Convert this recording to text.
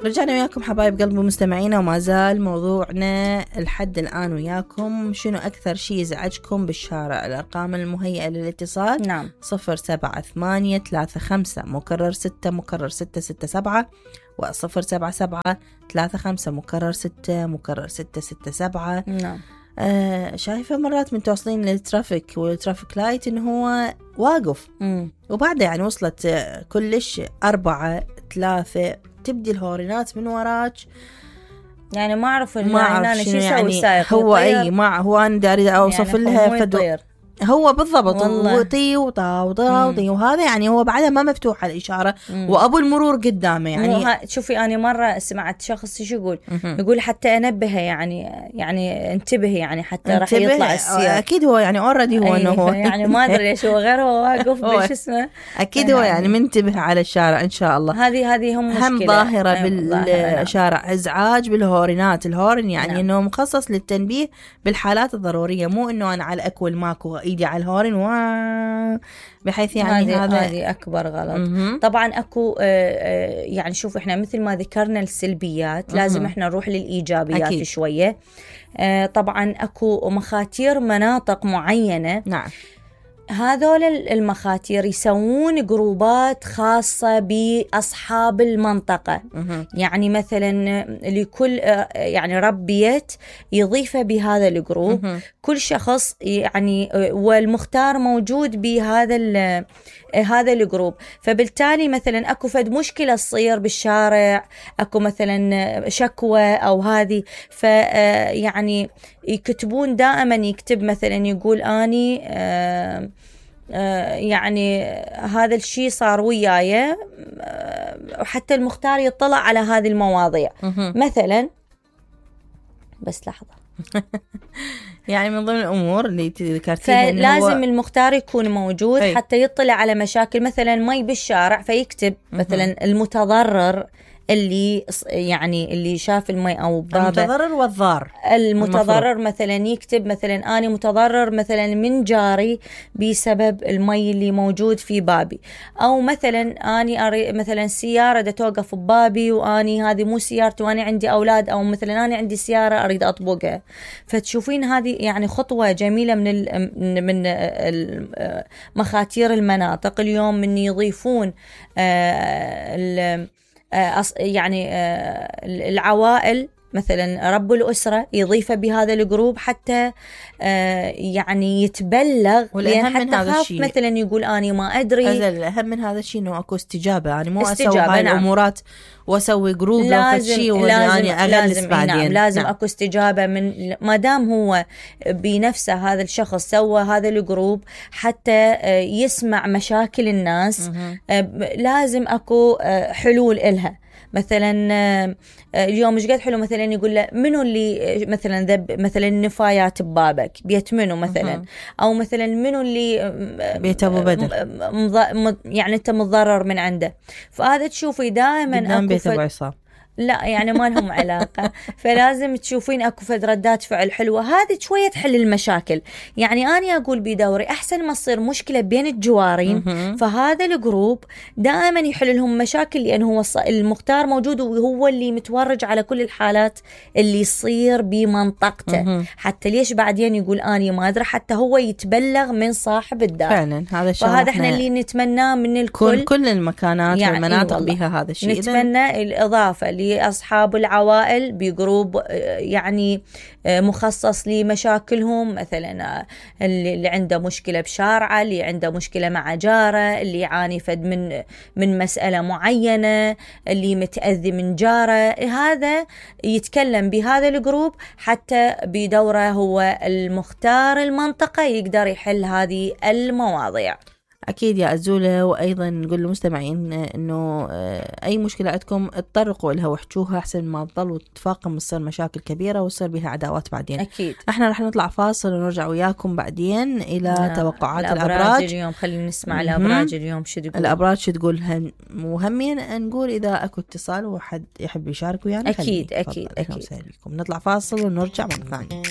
رجعنا وياكم حبايب قلبي مستمعينا، وما زال موضوعنا لحد الآن وياكم. شنو أكثر شيء يزعجكم بالشارع؟ الأرقام المهيئة للاتصال. نعم. 078-35-6 و077-35-6 نعم. شايفة مرات من توصلين للترافيك والترافيك لايت إنه هو واقف وبعد يعني وصلت كلش 4-3 تبدي الهورينات من وراك، يعني ما أعرف أنا شو يسوي يعني السائق. هو أي ما هو أنا داري أوصف يعني لها هو بالضبط وطي وطي وهذا يعني هو بعدها ما مفتوحة الإشارة وأبو المرور قدامه. يعني شوفي أنا مرة سمعت شخص يقول حتى أنبهه يعني انتبه يعني حتى راح يطلع السيارة. أكيد هو يعني already هو إنه هو يعني ما أدري ليش هو غير هو واقف بش اسمه أكيد هو يعني منتبه على الشارع إن شاء الله. هذه هم مشكلة ظاهرة بالشارع إزعاج بالهورينات. الهورن يعني نعم. إنه مخصص للتنبيه بالحالات الضرورية، مو إنه أنا على الأكل ماكو ايدي على الهورن بحيث يعني هذه اكبر غلط. طبعا اكو يعني شوف احنا مثل ما ذكرنا السلبيات لازم احنا نروح للايجابيات أكيد. شويه. طبعا اكو مخاتير مناطق معينه. نعم. هذول المخاتير يسوون جروبات خاصة بأصحاب المنطقة. يعني مثلا لكل يعني رب بيت يضيفه بهذا الجروب. كل شخص يعني والمختار موجود بهذا هذا الجروب. فبالتالي مثلا اكو فد مشكلة تصير بالشارع، اكو مثلا شكوى او هذه، فيعني يكتبون دائما، يكتب مثلا يقول اني يعني هذا الشيء صار وياي، وحتى المختار يطلع على هذه المواضيع. مثلا بس لحظة يعني من ضمن الأمور اللي ذكرتيها فلازم المختار يكون موجود حتى يطلع على مشاكل مثلا مي بالشارع، فيكتب مثلا المتضرر اللي شاف المي أو بابه، المتضرر والضار. المتضرر مثلا يكتب مثلا أنا متضرر مثلا من جاري بسبب المي اللي موجود في بابي، أو مثلا أنا مثلا سيارة دا توقف ببابي وأني هذه مو سيارتي وأنا عندي أولاد، أو مثلا أنا عندي سيارة أريد أطبقها. فتشوفين هذه يعني خطوة جميلة من مخاتير المناطق اليوم، من يضيفون يعني العوائل مثلا رب الأسرة يضيفه بهذا الجروب حتى يعني يتبلغ، لأن حتى خاف مثلا يقول أنا ما أدري. الأهم من هذا الشيء إنه أكو استجابة، يعني مو أسوي هاي الأمورات وأسوي جروب لو فشي وأني أغلس بعدين. نعم لازم أكو استجابة من ما دام هو بنفسه هذا الشخص سوى هذا الجروب حتى يسمع مشاكل الناس. لازم أكو حلول إلها. مثلا اليوم مش قد حلو مثلا يقول له منو اللي مثلا ذب مثلا النفايات ببابك بيت منو مثلا، او مثلا منو اللي بيت ابو بدر يعني انت متضرر من عنده. فهذا تشوفي دائما اكو بيت ابو عصام لا يعني ما لهم علاقة. فلازم تشوفين اكو فد ردات فعل حلوة، هذه شوية تحل المشاكل. يعني أنا أقول بدوري أحسن ما تصير مشكلة بين الجوارين، فهذا الجروب دائما يحل لهم مشاكل، لأن هو المختار موجود وهو اللي متورج على كل الحالات اللي يصير بمنطقته. حتى ليش بعدين يقول أنا ما أدري، حتى هو يتبلغ من صاحب الدار. فعلا هذا الشيء فهذا احنا اللي نتمناه من الكل، كل المكانات يعني والمناطق بها هذا الشيء. نتمنى الإضافة أصحاب العوائل بجروب يعني مخصص لمشاكلهم، مثلا اللي عنده مشكلة بشارعه، اللي عنده مشكلة مع جاره، اللي يعاني فد من مسألة معينة، اللي متأذي من جاره، هذا يتكلم بهذا الجروب حتى بدوره هو المختار المنطقة يقدر يحل هذه المواضيع. أكيد يا أزولة. وأيضا نقول للمستمعين إنه أي مشكلة عندكم تطرقوا لها واحكوها أحسن ما تضل وتتفاقم وتصير مشاكل كبيرة وتصير بها عداوات بعدين. أكيد. إحنا رح نطلع فاصل ونرجع وياكم بعدين إلى توقعات الأبراج اليوم. خلينا نسمع الأبراج اليوم شو تقول. الأبراج شو تقول. مهمين نقول إذا أكو اتصال وحد يحب يشارك ويانا. أكيد أكيد أكيد. نطلع فاصل ونرجع مرة ثانية.